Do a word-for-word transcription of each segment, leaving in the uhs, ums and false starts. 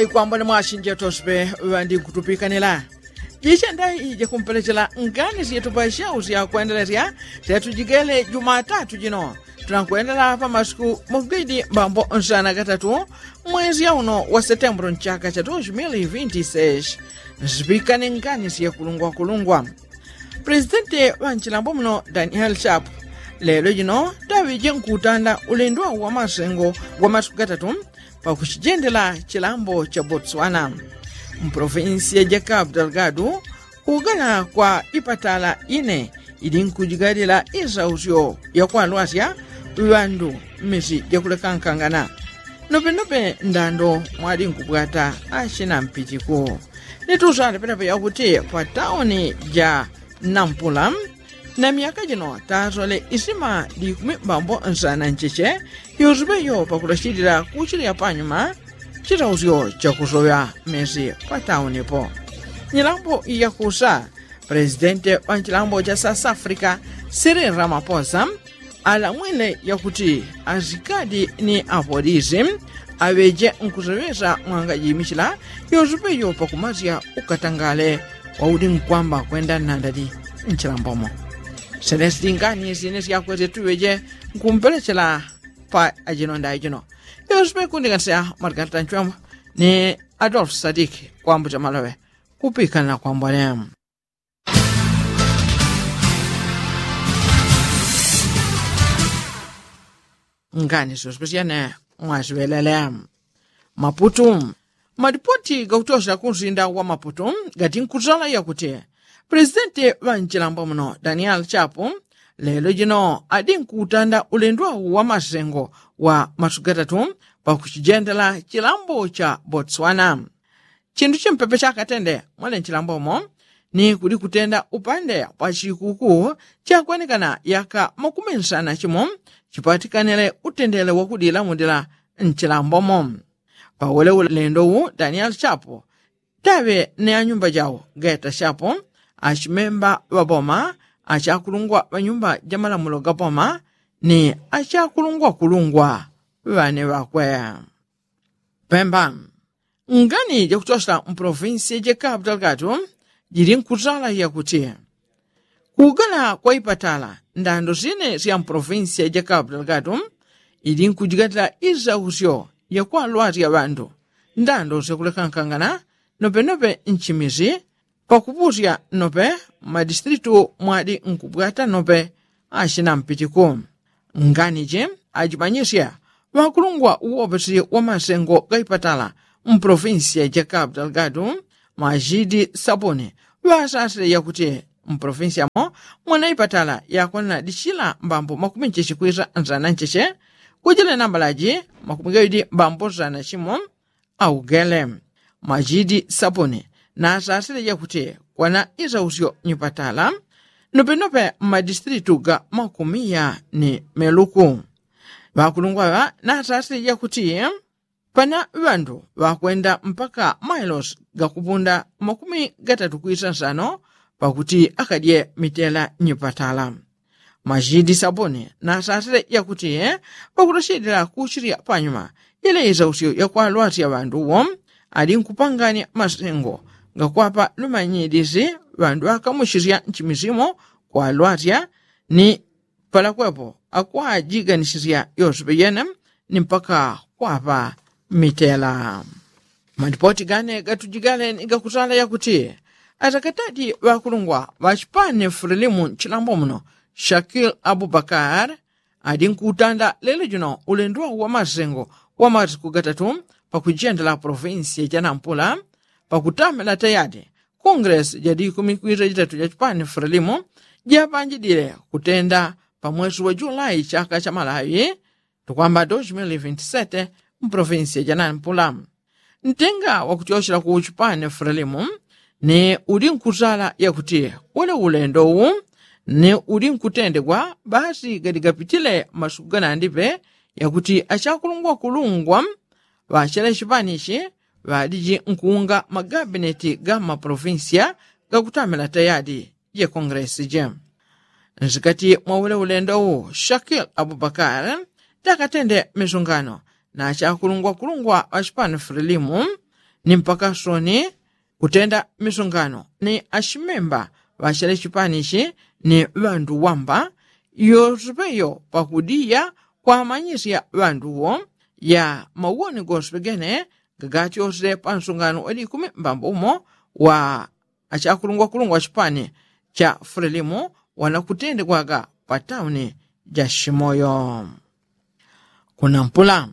Ikwambone mwashinjeto sipe ŵandi nkutupikanila. Jiche ndai jakumpelechela ngani syetu pashau syakwendelesya syatujigele jumatatu jino. Tunakwendela pa masiku mugwidi mbambo nsana gatatu, mwezi yauno wa setembro nchaka cha dos mil vinti seis. Nsipikane ngani syekulungwa kulungwa. Presidenti ŵa nchilambo muno daniel sharp lelo jino taŵije nkutanda ulendo wa masengo wa masiku gatatu, pakuchijendela chilambo cha botswana. Mprovinsi ya jacob delgado kugala kwa ipatala ine ili nkujigalila isausyo yakwalwasya ŵandu mmisi jakulekankangana. Nopenope ndando mwali nkubwata achina mpitiku. Nitusale penapo yakuti pa tauni ja nampula na myaka jino tasole isima likumi mbambo nsana ncheche. Yusupe yo pakulachilila kuchilya panyuma chitausyo chakusoŵya mesi pa tauni po. Nyilambo yakusa presidente wa nchilambo cha south africa siri ramaposa alamwile yakuti asikadi ni apolisi aŵeje nkuseŵesa mwangajimichila yosupe yo pakumasya ukatangale wauli nkwamba kwenda nandali nchilambomo. Sene silingani sine syakwete tuŵeje nkumpelechela pa ajino ndai jino. Yosupe kundikanisya mwalikata nchwemo ni adolf sadiki kwambucha maloŵe. Kupikanila kwambone. Ngani sospesyane mwasiŵelele. Maputu. Malipoti gakutyosela kunsinda wa maputu gati nkusala yakuti presidenti ŵa nchilambo muno daniel chapu lelo jino adi nkutanda ulendo wa masengo wa masuku gatatu pakuchijendela chilambo cha botswana. Chindu chimpepe chakatende mwene nchilambomo ni kudi kutenda upande pa chikuku chakwenekana yaka makumi nsana chimo chipatikanile utendele wakudilamudila nchilambomo. Pawele ulendo u daniel chapu taŵe ni anyumba jau geta chapu achimemba ŵaboma achakulungwa ŵanyumba jamalamulo gaboma ni achakulungwakulungwa ŵane ŵakwe. Pemba. Ngani jakuchosela mpolovinsi ya jakapu dalgatu jili nkutala yakuti kugala kwa ipatala ndando sine sya mpolovinsi ya jakapu dalgatu ili nkujigatila isausyo yakwalwasya ŵandu ndando syakulekankangana nopenope nchimisi pakupusya nope mmadistritu mwadi nkubwata nope achina mpitiku. Nganichi achipanyisya ŵakulungwa uwopesi wa masengo gaipatala mpolofinsiya ja kapu dalgadu mwachidi sapuni ŵasasile yakuti mpolofinsiya mo mwanaipatala yakwanana dichila mbambo makumi ncheche kwisa nsana ncheche kujile nambalaji makumi gaidi mbambo nsana chimo. Augele mwachidi sapuni nasasile yakuti kwana isausyo nyipatala nopenope mmadistritu ga makumiya ni meluku. Ŵakulungwa ŵa nasasile yakuti pana ŵandu ŵakwenda mpaka mailosi gakupunda makumi gatatu kwisa nsano pakuti akadye mitela nyipatala. Machidi sapuni nasasile yakuti pakutochedela kuchilya panyuma ile isausyo yakwalwasya ŵandu wo ali nkupanganya masengo gakwapa lumanyidisi ŵandu akamuchisya nchimisimo kwalwasya ni palakwepo akwajiganisisya yonse peyene ni mpaka kwapa mitela. Malipoti gane gatujigale ni gakusala yakuti atakatadi ŵakulungwa ŵachipani fulilimu nchilambo muno shakil abubakar adi nkutanda lelo jino ulendo wa masengo wa masiku gatatu pakujendela polofinsi janampula pakutamila tayadi kongresi jadikumi kwisa jitatu jachipani fulilimu japanjidile kutenda pamwesi wa julai chaka cha malawi tukwamba dos mil vinti sete mpolofinsi janampula. Ntenga wakutyochela ku chipani fulilimu ni uli nkusala yakuti ule ulendo wu ni uli nkutendegwa basi gadigapitile masuku ganandipe yakuti achakulungwakulungwa ŵachele chipanichi ŵadiji nkuunga magabineti ga mmapolofinsiya gakutamila tayadi je kongresi je. Nsikati mwa ule ulendo wu shakil abubakar takatende misungano na achakulungwakulungwa ŵachipani fulilimu ni mpaka soni kutenda misungano ni ashimemba ŵachele chipani chi ni ŵandu wamba, yosepeyo pakudiya kwamanyisya ŵanduwo ya mauwoni gosepegene gagatyosele pa nsungano wa likumi mbambo umo wa achakulungwakulungwa chipani cha fulelimu wanakutendegwaga pa tauni ja shimoyo. Kunampula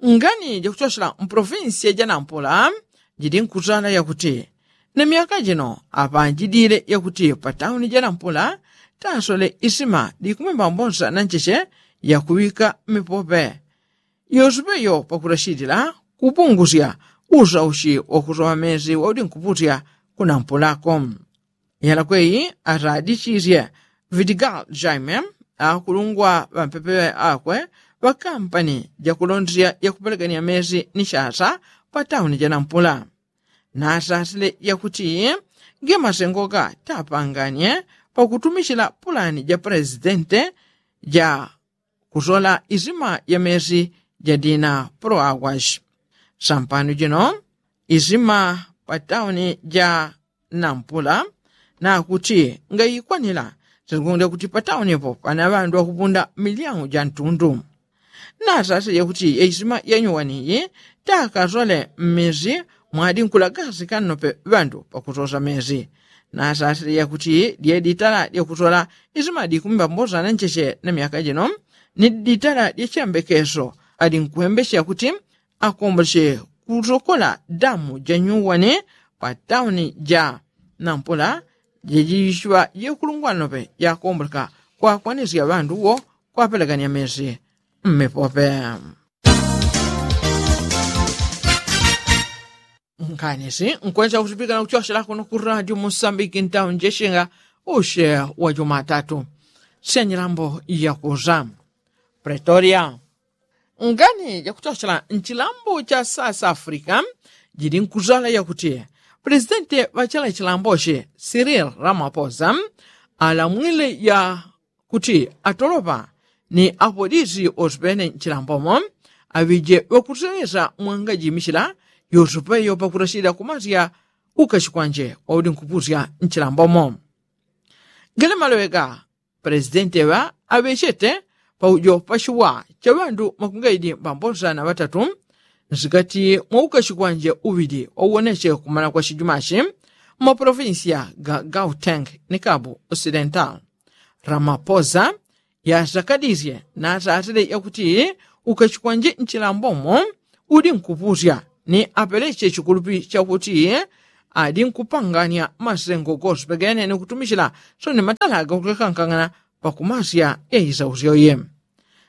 ngani jakuchochela mpolofinsiya ja nampula jidi nkuzala yakuti na myaka jino apanjidile yakuti pa tauni ja nampula tasole isima dikumwimba mbosa na ncheche yakuŵika mipope yosupeyo pakulachilila kupungusya usaushi wakusoŵa mezi waudi nkupusya kunampulako. Yalakweyi aradichisye vidigal jaime akulungwa ŵampepe akwe ŵakampani jakulondesya yakupelekania mezi ni chasa pa tauni ja nampula. Nasasile yakuti ge masengoka tapanganie pakutumichila pulani ja presidente ja kusola isima ya mezi ja dina pro aguas. Sampano jino isima pa tauni ja nampula nakuti ngayikwanila sikundi kuti pa tauni po pana ŵandu ŵakupunda milyangu ja ntundu. Nasasile yakuti ya isima yanyuwaniyi takasole mmezi mwadi nkulagasi kannope ŵandu pakusosa mezi. Nasasile yakuti dye ditala dyakusola isima dikumba mbosa na ncheche na myaka jino ni ditala dya chiyambekeso adi nkuwembesya kuti akomboche kusokola damu ja nyuwani pa tauni ja nampula jejishiŵa jekulungwa nope jakomboleka kwakwanisya ŵandu wo kwapelekania mezi mmipope. Nkanisi nkwenesa kutipika na kuchosela kuno ku radio musambiki ntauni jeshinga ushe wa jumatatu sya nyilambo yakuza pretoria. Ngani jakuchochela nchilambo cha south africa jidi nkuzala yakuti presidente ŵachela chilambochi siril ramaposa alamwile ya kuti atolopa ni apolisi osupene nchilambomo aŵije ŵakuseŵesa mwangajimichila yosupeyo pakurachilila kumasya ukachikwanje waudi nkupusya nchilambomo. Gele maloŵe ga presidente ŵa aŵechete paujo pachiwa cha ŵandu makungaidi mbambosa na ŵatatu nsikati mwa ukachikwanje uŵili wauwoneche kumala kwa chijumachi mmaprovinsiya ga gauteng ni kabu osidental. Ramaposa yasakadisye nasasile yakuti ukachikwanje nchilambomo udi nkupusya ni apeleche chikulupi chakuti adi nkupangania masengo gosupegene ni kutumichila soni matala gakulekankangana pakumasya yaisausyoye.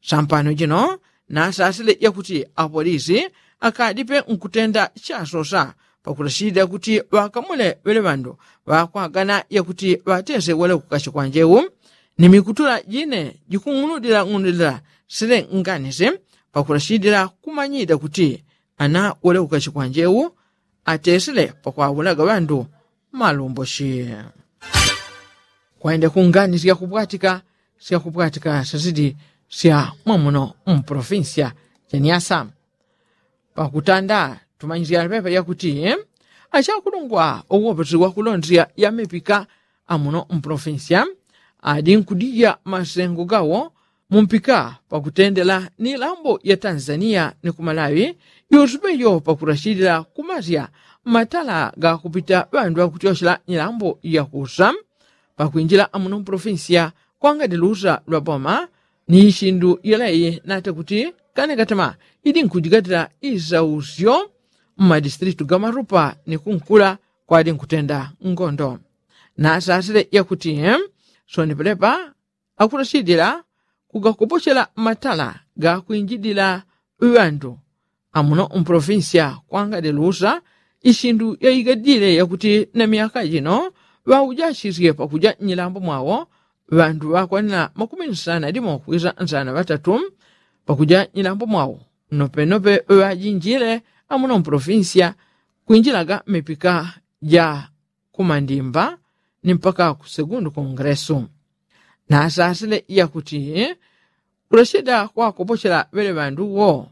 Sampano jino nasasile yakuti apolisi akadipe nkutenda chasosa pakulachilila kuti ŵakamule ŵele ŵandu ŵakwagana yakuti ŵatese wele ukachikwanje u ni mikutula jine jikung'unudila ng'unudila sile nganisi pakulachilila kumanyida kuti ana wele ukachikwanje u atesile pakwawulaga ŵandu malumboshi. Kwende kungani syakupwatika syakupwatika syazidi sya mwamuno mpolofinsiya janiasa. Pakutanda tumanyisya pepa yakuti achakulungwa owoposi wakulondesya ya mipika amuno mpolofinsiya adi nkudija masengo gawo mumpika pakutendela ni lambo ya tanzaniya ni kumalawi yosupeyo pakurachilila kumasya matala gakupita ŵandu ŵakutyochela nyilambo yakusa pakwinjila amuno mpolofinsiya kwangadi lusa lwa boma ni ishindu yelei nate kuti kane katema idi nkujigatila isausyo mmadistritu ga marupa ni kunkula kwadi nkutenda ngondo. Nasasile yakuti soni pelepa akulachidila kugakopochela matala gakwinjidila ŵandu amuno mpolofinsiya kwangadi lusa ishindu yaigadile yakuti na myaka jino ŵaujachisye pakuja nyilambo mwawo ŵandu ŵakwanila makumi nsana dimo kwisa nsana ŵatatu pakuja nyilambo mwawo nopenope ŵajinjile amuno mpolofinsiya kwinjilaga mmipika ja kumandimba ni mpaka kusegundu kongresu. Nasasile yakuti kulachida kwakopochela ŵele ŵandu wo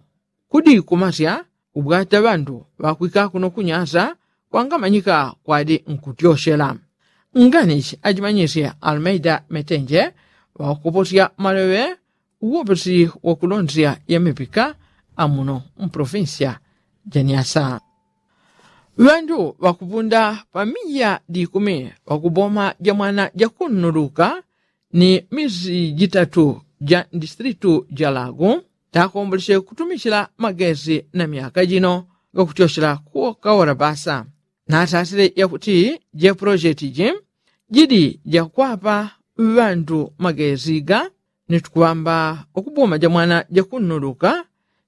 kudi kumasya ubwata ŵandu ŵakwika kuno kunyasa kwangamanyika kwadi nkutyoshela. Nganichi ajimanyisye almeida metenje ŵakukoposya maleŵe uwopesi wakulonzya ya mipika amuno mpolofinsiya ja nyasa. Ŵandu ŵakupunda pa miya dikumi ŵakuboma ja mwana jakunnuluka ni misi jitatu ja ndisitilitu ja lagu takomboleche kutumichila magesi na myaka jino gakutyochela kukaora basa. Natasile yakuti je pulojeti ji jidi jakwapa ŵandu magesi ga ni tukuŵamba ukuboma ja mwana jakunnuluka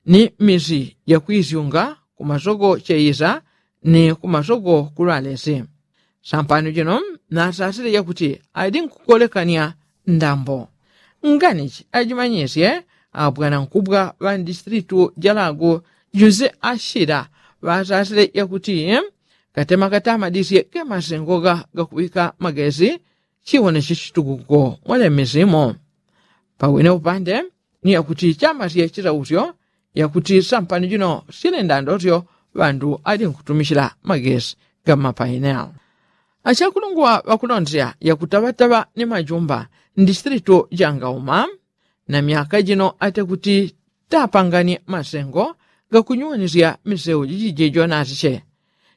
ni misi jakwisyunga kumasogo cheisa ni kumasogo kulwalesi. Sampano jino nasasile yakuti adi nkukolekanya ndambo. Nganichi ajimanyisye abwanankubwa ŵa ndisitilitu ja lagu juse ashila ŵasasile yakuti katema katamadisye kemasengo ga gakuŵika magesi chiwoneche chitukuko mwele misimo. Pawine upande ni yakuti chamasye chisausyo yakuti sampano jino sile ndandosyo ŵandu ali nkutumichila magesi ga mapainel. Achakulungwa ŵakulonzya yakutaŵataŵa ni majumba ndisitilitu ja ngauma na myaka jino ate kuti tapangani masengo gakunyuwanisya miseu jijije jonasiche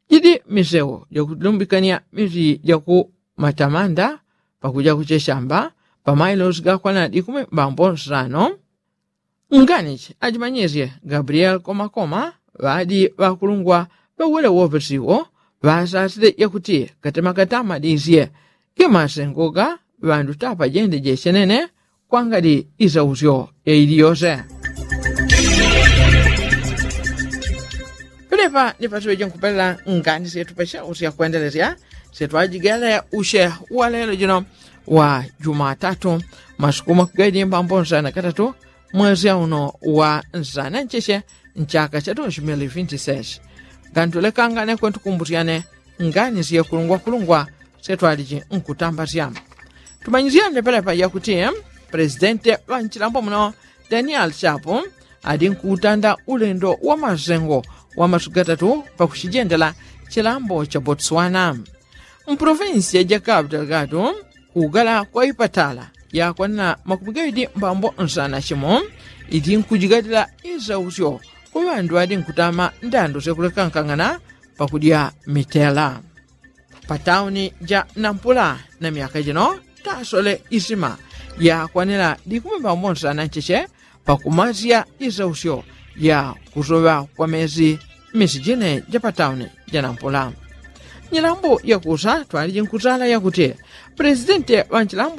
jidi miseu jakulumbikanya misi jaku matamanda pakuja kucheshamba pamailosi gakwana dikumi mbambo nsano. Nganichi ajimanyisye gabriel komakoma ŵadi ŵakulungwa ŵawele wopesiwo ŵasasile yakuti katema katamadisye gemasengo ga ŵandu tapajende jechenene kwangali isausyo yaili yose. Pelepa ni pasiŵeje nkupelela ngani syetu pasausya kwendelesya syetu ajigele usye wa lelo jino wa jumatatu masuku makugedi mbambo nsana katatu mwezi auno wa nsana ncheche nchaka cha dos mil vinti seis. Ngantulekangane kwentukumbusyane ngani syekulungwa kulungwa syetu aliji nkutambasya. Tumanyisyane pelepa yakuti presidente ŵa nchilambo muno daniel chapu adi nkutanda ulendo wa masengo wa masuku gatatu pakuchijendela chilambo cha botswana. Mpolofinsiya ja kapu delgado kugala kwa ipatala yakwanila makumi gaŵidi mbambo nsana chimo iti nkujigalila isausyo kwa ŵandu ŵadi nkutama ndando syakulekankangana pakudya mitela. Patauni ja nampula na myaka jino tasole isima yakwanila dikumi mbambo nsana ncheche pakumasya isausyo ya kusoŵa kwa mesi misi jine ja patauni ja nampula. Nyilambo yakusa twaliji nkusala yakuti presidente ŵa nchilambo